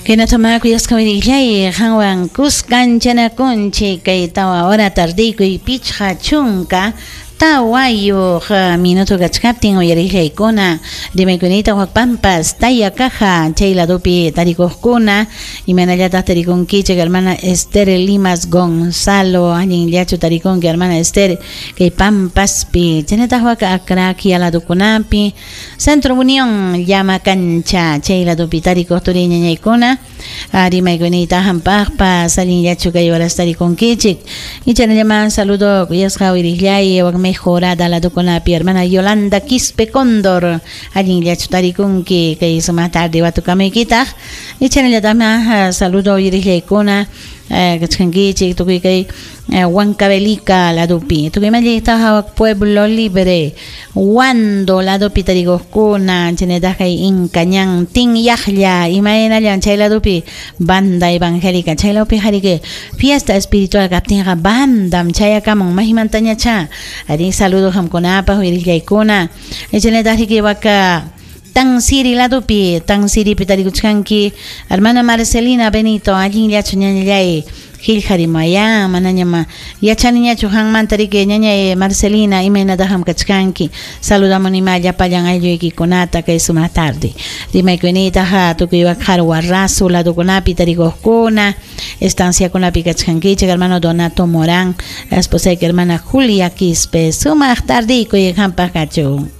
Kaynatamá kuyasqa wirillay qanwan kuskanchanakunchik kay 4 hora tardiykuy 54 minuto kachkaptin uyarillaykuna rimaykunita Pampas Tayacaja chay ladopi tarikuqkuna imaynallataq tarikunkichik hermana Esther Limas Gonzalo allinllachu tarikunki hermana Esther kay Pampaspi chaynataq wak Acraquia ladokunapi Centro Unión llama cancha chay ladopi tarikuq turiñañaykuna rimaykunita hampaqpas allinllachu kay horas tarikunkichik ichanallama saludo kuyasqa wirillay wak mejorada ladokunapi hermana Yolanda Quispe Cóndor allinllachu tarikunki kay sumaq tarde watukamuykitaq ichanallatama saludo wirillaykuna kachkankichik tukuy kay Huancavelica ladopi tukuy mallita Pueblo Libre Huando ladopi tarikuqkuna chaynataq kay Incañán Tinyaqlla imaynallan chay ladopi banda evangélica chay ladopi hariki fiesta espiritual kaptinqa bandam chayakamun maymantañacha arí saludo qamkunapaq wirillaykuna chaynataq riki waka Tansiri ladopi Tansiripi tarikuchkanki hermana Marcelina Benito allinllachu ñañallay qillqarimaya manañama yachaniñachu qanmanta riki ñañay Marcelina imaynataq kachkanki saludamunima llapallan aylluykikunata kay sumaq tarde rimaykunitaqa tukuy wak Qarwarrasu ladokunapi tarikuqkuna estanciakunapi kachkankichik hermano Donato Morán esposayki hermana Julia Quispe sumaq tardiykuy qampaq kachun.